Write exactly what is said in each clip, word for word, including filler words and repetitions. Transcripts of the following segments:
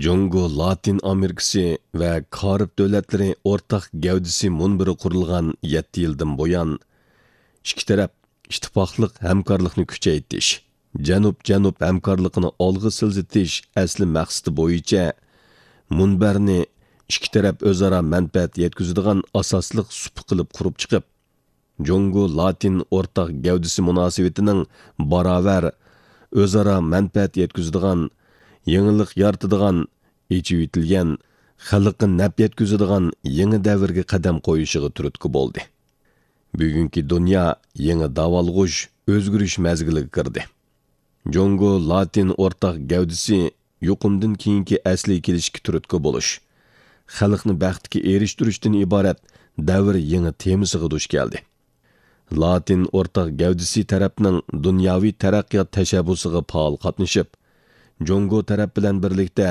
جۇڭگو لاتىن ئامېرىكىسى ۋە كارىب دۆلەتلىرى ئورتاق گەۋدىسى مۇنبىرى قۇرۇلغان يەتتە يىلدىن بۇيان، ئىككى تەرەپ ئىتتىپاقلىق ھەمكارلىقنى كۈچەيتىش، جەنۇب-جەنۇب ھەمكارلىقىنى ئالغا سىلجىتىش ئەسلى مەقسىتى بويىچە مۇنبەرنى ئىككى تەرەپ ئۆزئارا مەنپەئەت يەتكۈزىدىغان ئاساسلىق سۇپا قىلىپ قۇرۇپ چىقىپ، جۇڭگو لاتىن ئورتاق گەۋدىسى مۇناسىۋىتىنىڭ باراۋەر، ئۆزئارا مەنپەئەت يەتكۈزىدىغان، يېڭىلىق يارىتىدىغان، ئېچىۋېتىلگەن، خەلققە نەپ يەتكۈزىدىغان يېڭى دەۋرگە قەدەم قويۇشىغا تۈرتكە بولدى. بۈگۈنكى دۇنيا يېڭى داۋالغۇش، ئۆزگىرىش مەزگىلىگە كىردى. جۇڭگو لاتىن ئورتاق گەۋدىسى يۇقۇمدىن كېيىنكى ئەسلىگە كېلىشكە تۈرتكە بولۇش، خەلقنى بەختكە ئېرىشتۈرۈشتىن ئىبارەت دەۋر يېڭى تېمىسىغا دۇچ كەلدى. لاتىن ئورتاق گەۋدىسى تەرەپنىڭ دۇنياۋى تەرەققىيات تەشەببۇسىغا پائال قاتنىشىپ، جۇڭگو تەرەپ بىلەن بىرلىكتە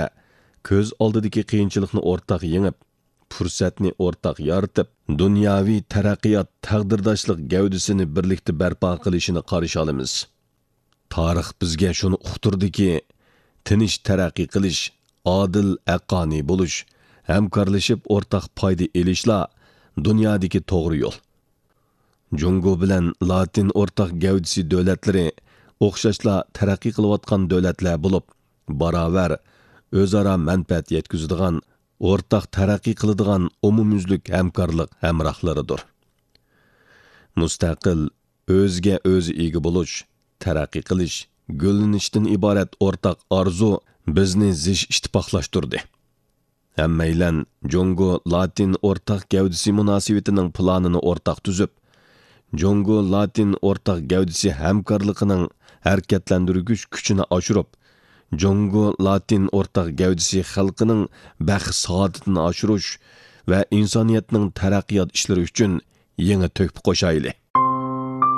كۆز ئالدىدىكى قىيىنچىلىقنى ئورتاق يېڭىپ، پۇرسەتنى ئورتاق يارىتىپ، دۇنياۋى تەرەققىيات تەقدىرداشلىق گەۋدىسىنى بىرلىكتە بەرپا قىلىشىنى قارشى ئالىمىز. تارىخ بىزگە شۇنى ئۇقتۇردىكى، تىنچ تەرەققىي قىلىش، ئادىل، ھەققانىي بولۇش، ھەمكارلىشىپ ئورتاق پايدا ئېلىشلا دۇنيادىكى توغرا يول. جۇڭگو بىلەن لاتىن ئورتاق گەۋدىسى دۆلەتلىرى ئوخشاشلا تەرەققىي قىلىۋاتقان دۆلەتلەر بولۇپ، باراۋەر، ئۆزئارا مەنپەئەت يەتكۈزىدىغان، ئورتاق تەرەققىي قىلىدىغان ئومۇميۈزلۈك ھەمكارلىق ھەمراھلىرىدۇر. مۇستەقىل، ئۆزىگە ئۆزى ئىگە بولۇش، تەرەققىي قىلىش، گۈللىنىشتىن ئىبارەت ئورتاق ئارزۇ بىزنى زىچ ئىتتىپاقلاشتۇردى. ھەممەيلەن جۇڭگو لاتىن ئورتاق گەۋدىسى مۇناسىۋىتىنىڭ پىلانىنى ئورتاق تۈزۈپ، جۇڭگو لاتىن ئورتاق گەۋدىسى ھەمكارلىقىنىڭ ھەرىكەتلەندۈرگۈچ كۈچىنى ئاشۇرۇپ، جۇڭگو لاتىن ئورتاق گەۋدىسى خەلقىنىڭ بەخت سائادىتىنى ئاشۇرۇش ۋە ئىنسانىيەتنىڭ تەرەققىيات ئىشلىرى ئۈچۈن يېڭى تۆھپە قوشايلى.